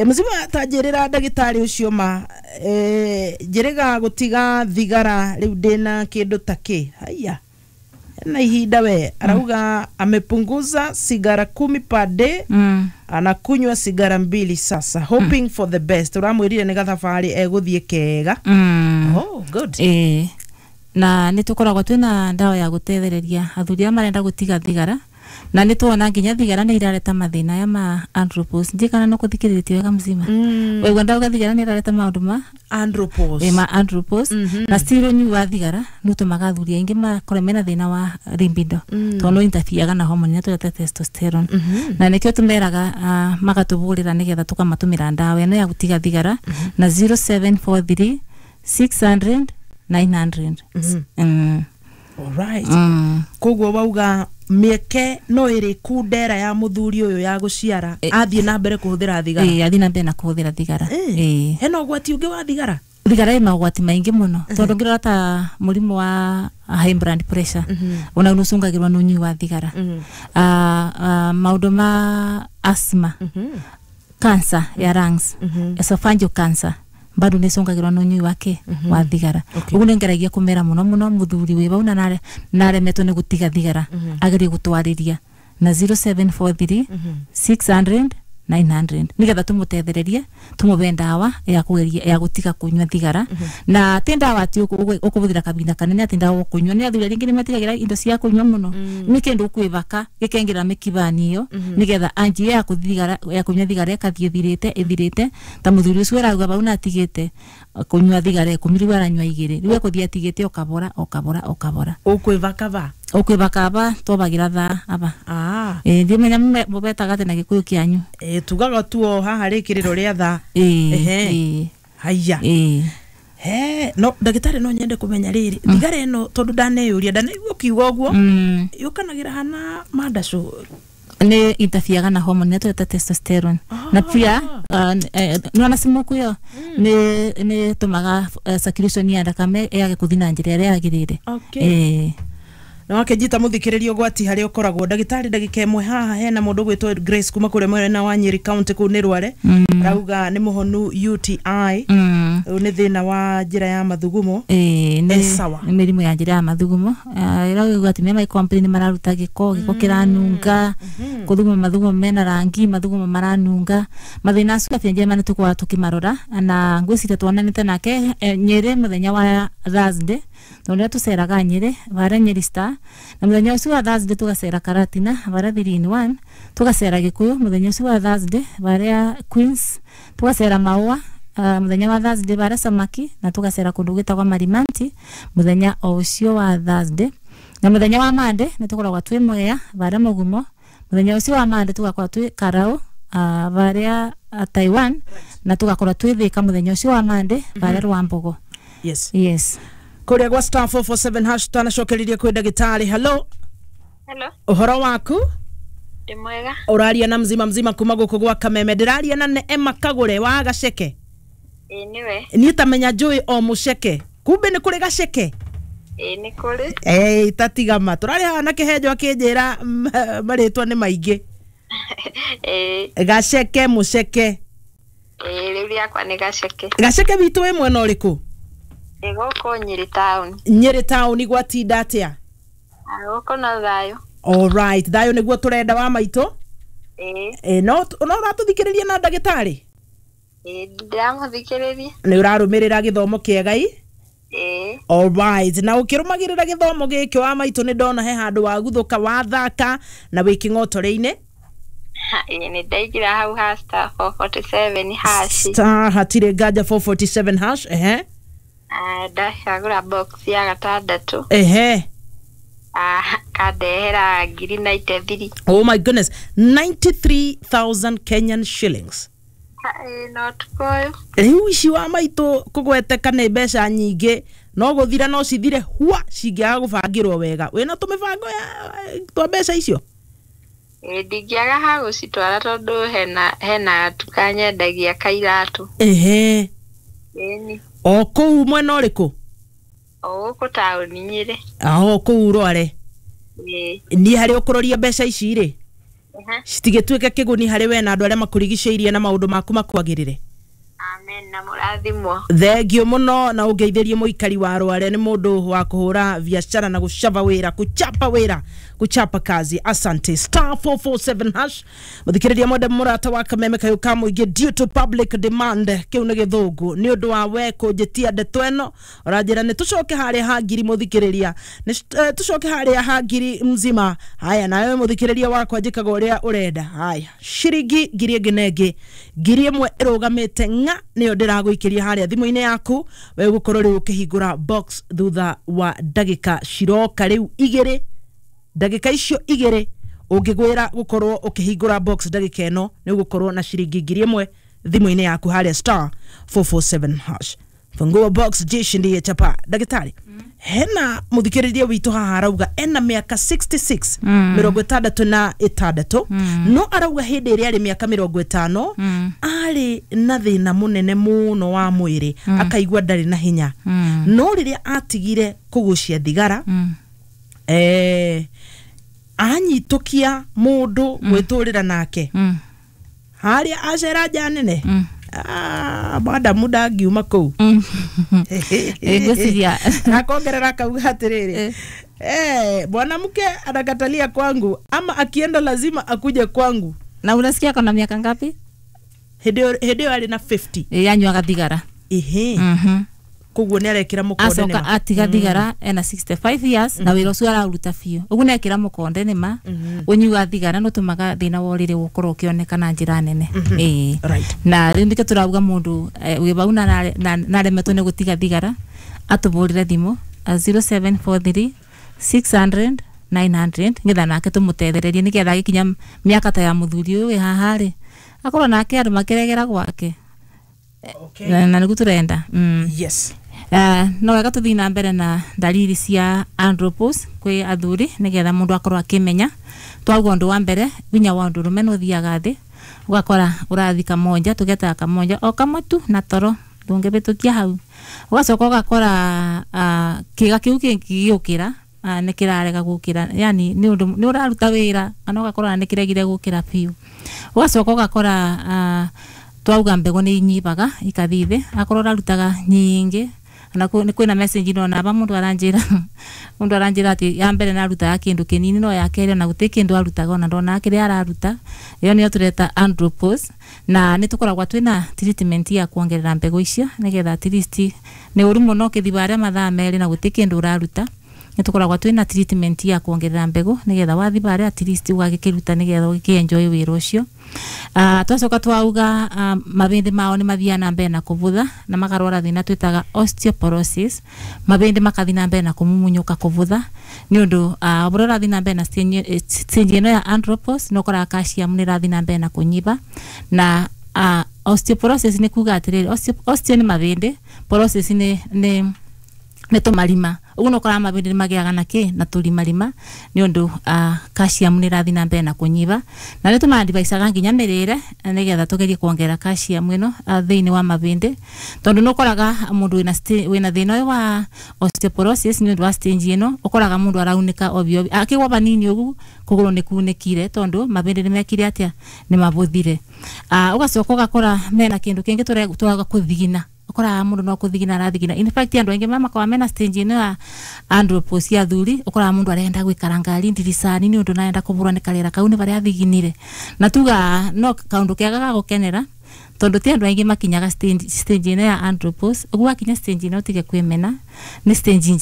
Mzima tanjĩrĩra ndagĩtarĩ ũcio ma njĩrĩga gũtiga thigara rĩu ndĩna kĩndũ ta kĩ haya na ihinda we arauga amepunguza sigara 10 per day, anakunywa sigara 2 sasa, hoping for the best. Uramwĩrire nĩ gathabarĩ egũthiĩ kega. Oh, good. Na nä tå koragwo twä na ndawa ya gå tethereria athuri arĩa marenda gå tiga thigara, na nä tuona nginya thigara nä irareta mathĩna aya ma andropause. Ndiĩ kana no kũthikĩrĩtie wega mzima. Waigua ndauga thigara nä irareta maũndũ ma andropause. Ma andropause. Na still ũnyui wa thigara nĩ ũtũmaga athuri aingĩ makorwo mena thĩna wa libido, tondũ no interfereaga na hormone ĩrĩa tũreta testosterone. Na nĩkĩo tũmeraga magatũbũrĩra nĩgetha tũkamatũmĩra ndawa ĩno ya gũtiga thigara na 0743 600 900. Alright. Koguo wauga mĩeke no ĩrĩ kundera ya mũthuri ũyũ ya gũciara athiĩ na mbere kũhũthĩra thigara? Ĩĩ, athiĩ na mbere na kũhũthĩra thigara. Ĩĩ. Hena ũgwati ũngĩ wa thigara? Thigara ĩ magwati maingĩ mũno, tondũ ngĩrora ta mũrimũ wa high blood pressure ona nĩ ũcũngagĩrwo nĩ ũnyui wa thigara. Maũndũ ma asthma, cancer ya lungs, esophageal cancer bado nĩ ĩcũngagĩrwo nĩ ũnyui wake wa thigara. Ũguo nĩ ngeragia kũmera mũno mũno mũthuri wĩ bau na naremetwo nĩ gũtiga thigara agerie gũtwarĩria na 0743 600 900 nigetha tumutethererie tumuve ndawa ya kugeria ya gutiga kunywa thigara. Na ti ndawa ati ukubuthira kabinda kanene ati ndawa ukunywa ni athuri ringi ni matigagira indo cia kunywa muno ni kindu ukwibaka gikengira mikibani iyo nigetha anji ya kuthigara ya kunywa thigara ikathie thirite ithirite. Ta muthuri ucio arauga bau na atigite kunywa thigara 10, riu aranywa 2, riu ekuthie atigite o kabora o kabora o kabora. Ũkwĩbaka va? Ukwibaka aba twabagira thaa aba. Ndimenya mubetaga ati na Gikuyu kianyu. Tugaga tuo haha rĩkĩrĩro rĩa thaa. Haya. He no ndagĩtarĩ, no nyende kũmenya rĩrĩ, thigara ĩno, tondũ ndaneyũria, ndanaigua ũkiuga ũguo, yũkanagĩra hana mandacũ? Nä interfereaga na hormone ĩrĩa twĩta testosterone, na pia nĩwona smoke ĩyo nä tũmaga circulation ya thakame yage kũthiĩ na njĩra ĩrĩa yagĩrĩire. Na wakĩnjita mũthikĩrĩria ũgwati harĩa ũkoragwo ndagĩtarĩ ndagĩka ĩmwe haha hena mũndũ ũgwĩtwo Grace kuma kũrĩa mwena wa Nyeri County kũu nĩ Rware. Arauga nĩ mũhonu UTI. Ũyũ nĩ thĩna wa njĩra ya mathugumo. Nĩ Sawa. Nĩ mĩrimũ ya njĩra ya mathugumo. Ĩrauga atumia mai complain mararuta gĩko, gĩko kĩranunga, kũthuguma mathugumo mena rangi, mathugumo maranunga. Mathĩna acio afya njema nĩ tũkoragwo tũkĩmarora, na ngwĩciria tuonanĩte nake Nyĩrĩ mũthenya wa Thursday, tondũ rĩrĩa tũceraga Nyĩrĩ varĩa Nyeri Star, na mũthenya ũcio wa Thursday tũgacera Karatina varĩa 3 in 1, tũgacera Gĩkũyũ mũthenya ũcio wa Thursday varĩa Queens, tũgacera Maũa mũthenya wa Thursday varĩa Samaki, na tũgacera kũndũ gwĩtagwo Marimanti mũthenya o ũcio wa Thursday. Na mũthenya wa Monday nĩ tũkoragwo twĩ Mwea varĩa Mũgumo. Mũthenya ũcio wa Monday tũgakorwo twĩ Karau varĩa Taiwan, na tũgakorwo twĩ Thika mũthenya ũcio wa Monday varĩa Rwambogo. Yes. Kũrĩa gwa *447# tanacokereria kwĩ ndagĩtarĩ. Hello. Hello. Ũhoro waku? Ndĩ mwega. Ũraria na mzima mzima kuma gũkũ gwa Kameme. Ndĩraria na Neema Kagũre wa Gaceke? Ĩĩ, nĩwe. Niĩ tamenya njũĩ o mũceke, kumbe nĩ kũrĩ Gaceke. Ĩĩ, nĩ kũrĩ. Tatigama tũrarĩ haha na kĩhenjo akĩnjĩra marĩtwa nĩ maingĩ. Gaceke, mũceke. Ĩĩ, rĩu rĩakwa nĩ Gaceke. Gaceke witũ wĩ mwena ũrĩkũ? Ĩ gũkũ Nyĩrĩ town. Nyĩrĩ taũni gwatinda atĩa? Gũkũ no thayũ. Alright, thayũ nĩguo tũrenda wa maitũ. Ĩĩ. No ũratũthikĩrĩria na ndagĩtarĩ? Ĩĩ, ndĩramũthikĩrĩria. Nĩ ũrarũmĩrĩra gĩthomo kĩega i? Ĩĩ. Alright, na ũkĩrũmagĩrĩra gĩthomo gĩkĩ wa maitũ, nĩ ndona he handũ waguthũka wathaka na wĩ kĩng'otoreinĩ. Ĩĩ, nĩ ndaingĩra hau ha *447#. Star hatirĩ nganja 447 hash, ehe. Ndacagũra box ya gatandatũ. Kandehera ngiri 93. Oh my goodness, 93,000 Kenyan shillings. Ĩĩ, no ũtukũ ũyũ. Rĩu ici wa maitũ kũgweteka nĩ mbeca nyingĩ, no gũthira no cithire hua cingĩaga gũbangĩrwo wega. Wĩna tũmĩbango ya twa mbeca icio? Ĩĩ, ndingĩaga ha gũcitwara tondũ hena gatuka nyendagia kairatũ. Ĩni. O kũu mwena ũrĩkũ? O gũkũ taũni Nyĩrĩ. O kũu Rware? Ĩĩ. Niĩ harĩa ũkũroria mbeca ici rĩ? Citigĩtuĩke kĩguni harĩ we na andũ arĩa makũrigicĩirie na maũndũ maku makwagĩrĩre. Amen na mũrathimwo. Thengio mũno na ũngeithĩrie mũikari wa Rware, nĩ mũndũ wa kũhũra biacara na gũcaba wĩra, kuchapa wĩra, kuchapa kazi. Asante. Star 447 hash. Mũthikĩrĩria mwende mũrata wa kameme kayũ ka mũingĩ, due to public demand, kĩu nĩ gĩthũngũ, nĩ ũndũ wa we kũnjĩtia ndeto ĩno ũranjĩra nĩ tũcoke harĩa ha ngiri. Mũthikĩrĩria, nĩ tũcoke harĩa ha ngiri mzima. Haya, nawe mũthikĩrĩria wakwa, njĩkaga ũrĩa ũrenda. Haya, ciringi ngiri ĩngĩ na ĩngĩ, ngiri ĩmwe ĩrũgamĩte ng'a nĩyo ndĩragũikĩria harĩa thimũ-inĩ yaku. We ũgũkorwo rĩu ũkĩhingũra box thutha wa ndagĩka ciroka rĩu igĩrĩ. Ndagĩka icio igĩrĩ ũngĩgwĩra gũkorwo ũkĩhingũra box ndagĩka ĩno, nĩ ũgũkorwo na ciringi ngiri ĩmwe thimũ-inĩ yaku harĩa star 447 hash. Fungua box, jishindie chapa. Ndagĩtarĩ, hena mũthikĩrĩria witũ haha arauga ena mĩaka 66, 66, no arauga hĩndĩ ĩrĩa arĩ mĩaka 50 arĩ na thĩna mũnene mũno wa mwĩrĩ, akaigua ndarĩ na hinya, no rĩrĩa atigire kũgucia thigara, anyitũkia mũndũ gwĩtũrĩra nake harĩa acera nja nene, madamu ndangiuma kũu. Ngwĩciria akongerera akauga atĩrĩrĩ, mwanamke anakatalia kwangu ama akienda lazima akuje kwangu. Na unasikia kona miaka ngapi? Hĩndĩ ĩyo arĩ na 50. Yanyuaga thigara. Ĩhĩ. Koguo nĩ arekĩra mũkonde. Acoka nĩma atiga thigara ena 65 years na wĩra ũcio araruta biũ, ũguo nĩekĩra mũkonde. Nĩma ũnyui thigara nĩ ũtũmaga thĩna wa ũrĩrĩ gũkorwo ũkĩoneka na njĩra nene. Ĩĩ. Na rĩu nĩkĩo tũrauga mũndũ wĩ vau na aremetwo nĩ gũtiga thigara atũbũrĩre thimũ 0743 600 900, nĩgetha nake tũmũtethererie, nĩgetha agĩkinya mĩaka ta ya mũthuri ũyũ wĩ haha rĩ, akorwo nake andũ makĩregera gwake. Na nĩguo tũrenda. Yes. No wega tũthiĩ na mbere na dalili cia andropause kwĩ athuri, nĩgetha mũndũ akorwo akĩmenya. Twauga ũndũ wa mbere, winya wa ũndũrũme nĩ ũthiaga thĩ, ũgakora ũrathi kamonja, tũgetaga kamonja o kamwe tu na toro ndũngĩbĩtũkia hau. Ũgacoka ũgakora kĩga kĩu kĩngĩgĩũkĩra nĩ kĩrarega gũkĩra, yani nĩ ũndũ nĩ ũraruta wĩra kana ũgakora nĩ kĩregire gũkĩra biũ. Ũgacoka ũgakora twauga mbegũ nĩ inyibaga ikathiĩ thĩ, akorwo ũrarutaga nyingĩ. Na nĩ kwĩna message ndona aba, mũndũ aranjĩra atĩ ya mbere narutaga kĩndũ kĩnini, no ya kerĩ ona gũtirĩ kĩndũ arutaga, ona ndonaga kĩrĩa araruta. Ĩyo nĩyo tũreta andropause, na nĩ tũkoragwo twĩna treatment ya kuongerera mbegũ icio, nĩgetha at least nĩ ũru mũno ũkĩthiĩ harĩa mathaa 2 na gũtirĩ kĩndũ ũraruta. Nĩ tũkoragwo twĩna treatment ya kuongerera mbegũ, nĩgetha wathiĩ harĩa at least ũgagĩkĩruta, nĩgetha ũgĩkĩ-enjoy wĩra ũcio. Twacoka twauga mabĩndĩ mao nĩ mathiaga na mbere na kũbutha na makarwara thĩna twĩtaga osteoporosis, mabĩndĩ makathiĩ na mbere na kũmumunyũka, kũbutha, nĩ ũndũ ũrĩa ũrathiĩ na mbere na stage ĩno ya andropause, nĩ ũkoraga calcium nĩ ĩrathiĩ na mbere na kũnyiba. Na osteoporosis nĩ kuga atĩrĩrĩ, osteo nĩ mabĩndĩ, porosis nĩ tũmarima. Ũguo nĩ ũkoraga mabĩndĩ nĩ magĩaga na kĩ na tũrimarima, nĩ ũndũ calcium nĩ ĩrathiĩ na mbere na kũnyiba. Na nĩ tũmadivaicaga nginya mĩrĩre, nĩgetha tũgerie kuongerera calcium ĩno thĩinĩ wa mabĩndĩ, tondũ nĩ ũkoraga mũndũ wĩna thĩna ũyũ wa osteoporosis, nĩ ũndũ wa stage ĩno, ũkoraga mũndũ araunĩka ovyo ovyo, akĩgwa vanini ũguo kũgũrũ nĩ kunĩkire, tondũ mabĩndĩ nĩ mekire atĩa? Nĩ mabũthire. Ũgacoka ũgakora mena kĩndũ kĩngĩ tũraga kũthigina, ũkoraga mũndũ no kũthigina arathigina. In fact, andũ aingĩ makoragwo mena stage ĩno ya andropause ya athuri, ũkoraga mũndũ arenda gũikara ngari ndiricani, nĩ ũndũ narenda kũbũrwo nĩ karĩera kau nĩ barĩa athiginire. Na tuga no kaũndũ kega ga gũkenera, tondũ ti andũ aingĩ makinyaga stage ĩno ya andropause. Ũguo wakinya stage ĩno ũtige kwĩmena, nĩ stage njega.